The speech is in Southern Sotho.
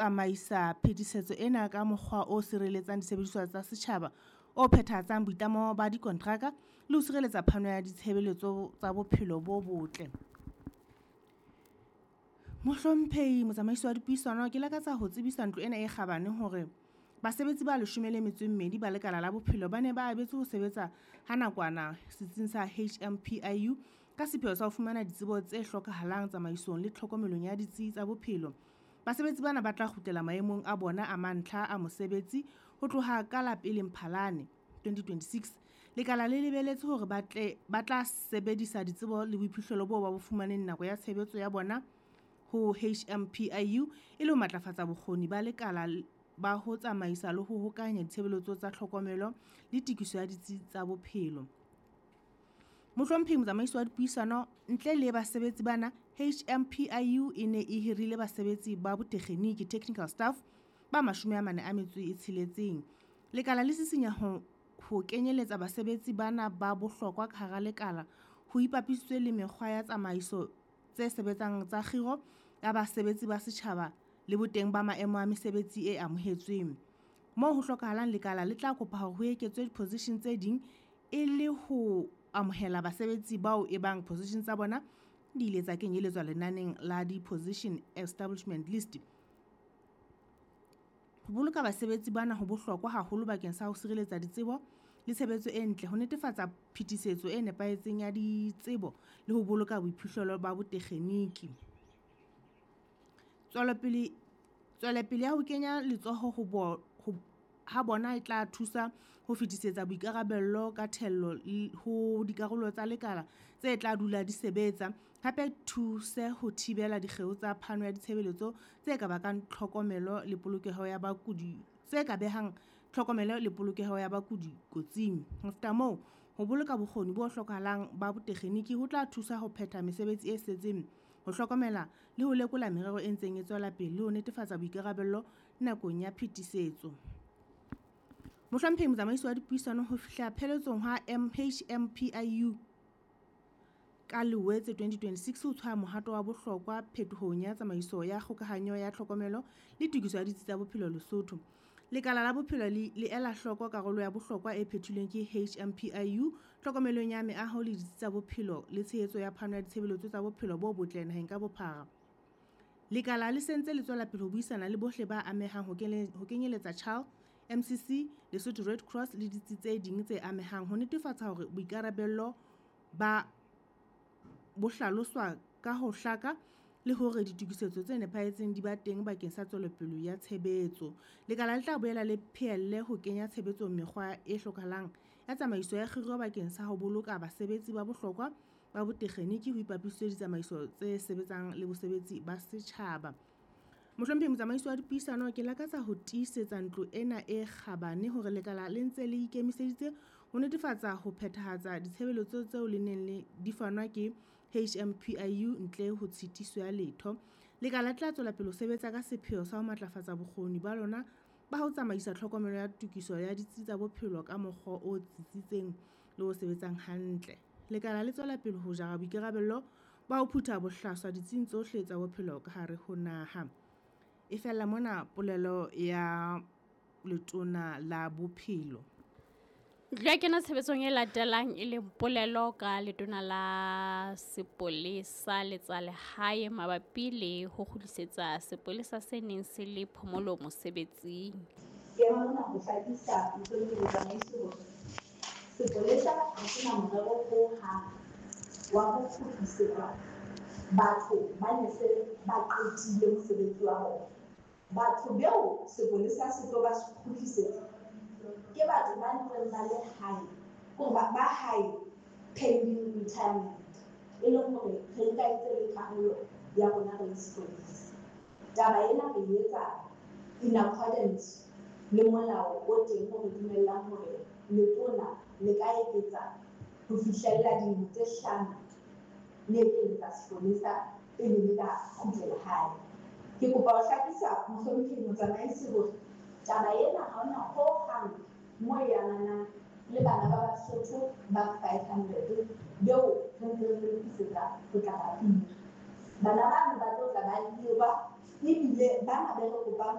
Tsamaisa phetisetso ena ka mokgwa o sireletsang disebediswa tsa setjhaba, o phethahatsang boitlamo ba dikontraka le ho sireletsa phano ya ditshebeletso tsa bophelo bo botle. Mohlomphehi Motsamaisi wa Dipuisano, ke lakatsa ho tsebisa ntlo ena e kgabane hore basebetsi ba 12 ba lekala la bophelo ba ne ba abetswe ho sebetsa ha nakwana setsing sa HMPIU ka sepheo sa ho fumana ditsebo tse hlokahalang tsamaisong le tlhokomelong ya ditsi tsa bophelo. Basebetsi bana ba tla kgutlela maemong a bona a mantlha a mosebetsi ho tloha ka la 1 Mphalane 2026. Lekala le lebeletse hore ba tla sebedisa ditsebo le boiphihlelo boo ba bo fumaneng nako ya tshebetso ya bona ho HMPIU e le ho matlafatsa bokgoni ba lekala ba ho tsamaisa le ho hokahanya ditshebeletso tsa tlhokomelo le tokiso ya ditsi tsa bophelo. Mohlomphehi Motsamaisi wa Dipuisano, ntle le basebetsi bana, HMPIU e ne e hirile basebetsi ba botekgeniki, technical staff, ba 46. Lekala le sisinya ho kenyeletsa basebetsi bana ba bohlokwa ka hara lekala ho ipapisitswe le mekgwa ya tsamaiso tse sebetsang tsa kgiro ya basebetsi ba setjhaba le boteng ba maemo a mesebetsi e amohetsweng. Moo ho hlokahalang, lekala le tla kopa hore ho eketswe diposition tse ding e le ho amohela basebetsi bao e bang position tsa bona di ile tsa kenyeletswa lenaneng la di-position establishment list. Ho boloka basebetsi bana ho bohlokwa haholo bakeng sa ho sireletsa ditsebo le tshebetso e ntle, ho netefatsa phetisetso e nepahetseng ya ditsebo le ho boloka boiphihlelo ba botekgeniki. Tswelopele ya ho kenya letsoho ha bona e tla thusa ho fetisetsa boikarabello ka thello ho dikarolo tsa lekala tse tla dula di sebetsa, hape thuse ho thibela dikgeo tsa phano ya ditshebeletso tse ka bakang tlhokomelo le polokeho ya bakudi tse ka behang tlhokomelo le polokeho ya bakudi kotsing. Ho feta moo, ho boloka bokgoni bo hlokahalang ba botekgeniki ho tla thusa ho phetha mesebetsi e setseng, ho hlokomela le ho lekola merero e ntseng e tswela pele le ho netefatsa boikarabello nakong ya phetisetso. Mohlomphehi Motsamaisi wa Dipuisano, ho fihla pheletsong ha HMPIU ka Loetse 2026 ho tshwaya mohato wa bohlokwa phetohong ya tsamaiso ya kgokahanyo ya tlhokomelo le tokiso ya ditsi tsa bophelo Lesotho. Lekala la bophelo le ela hloko karolo ya bohlokwa e phethilweng ke HMPIU tlhokomelong ya meaho le ditsi tsa bophelo le tshehetso ya phano ya ditshebeletso tsa bophelo bo botle naheng ka bophara. Lekala le sentse le tswela pele ho buisana le bohle ba amehang ho kenyeletsa CHAL, MCC, Lesotho Red Cross le ditsi tse ding tse amehang ho netefatsa hore boikarabello ba bo hlaloswa ka ho hlaka le hore ditokisetso tse nepahetseng di ba teng bakeng sa tswelopele ya tshebetso. Lekala le tla boela le phehelle ho kenya tshebetsong mekgwa e hlokahalang ya tsamaiso ya kgiro bakeng sa ho boloka basebetsi ba bohlokwa ba botekgeniki ho ipapisitswe ditsamaiso tse sebetsang le bosebetsi ba setjhaba. Mohlomphehi Motsamaisi wa Dipuisano, ke lakatsa ho tiisetsa ntlo ena e kgabane hore lekala le ntse le ikemiseditse ho netefatsa ho phethahatsa ditshebeletso tseo le neng le di fanwa ke HMPIU ntle ho tshitiso ya letho. Lekala le tla tswela pele ho sebetsa ka sepheo sa ho matlafatsa bokgoni ba lona ba ho tsamaisa tlhokomelo ya tokiso ya ditsi tsa bophelo ka mokgwa o tsitsitseng le o sebetsang hantle. Lekala le tswela pele ho jara boikarabello ba ho phutha bohlaswa ditsing tsohle tsa bophelo ka hare ho naha. E fella mona polelo ya Letona la Bophelo. Ntlo ya kena tshebetsong e latelang e leng polelo ka Letona la Sepolesa le tsa Lehae mabapi le ho kgutlisetsa sepolesa se neng se le phomolo mosebetsing. Ke ema mona ho hlakisa Mohlomphehi Motsamaisi hore sepolesa ha se na morero hohang wa ho kgutlisetsa batho ba ne se ba qetile mosebetsi wa bona. Batho beo sepolesa se tlo ba kgutlisetsa ke batho ba ntseng ba le hae, kore ba hae pending retirement, e leng hore re nka ntse le karolo ya rona re le sepolesa. Taba ena re etsa in accordance le molao o teng o re dumellang hore letona le ka eketsa ho fihlella dilemo tse 5 le ekeletsa sepolesa pele le ka kgutlela hae. Ke kopa ho hlakisa Mohlomphehi Motsamaisi hore taba ena ha hona hohang mo e amanang le bana ba Basotho ba 500 beo re ntseng re lokisetsa ho tla ba hira. Bana bano ba tlo tla ba hirwa Ebile bana be re kopang.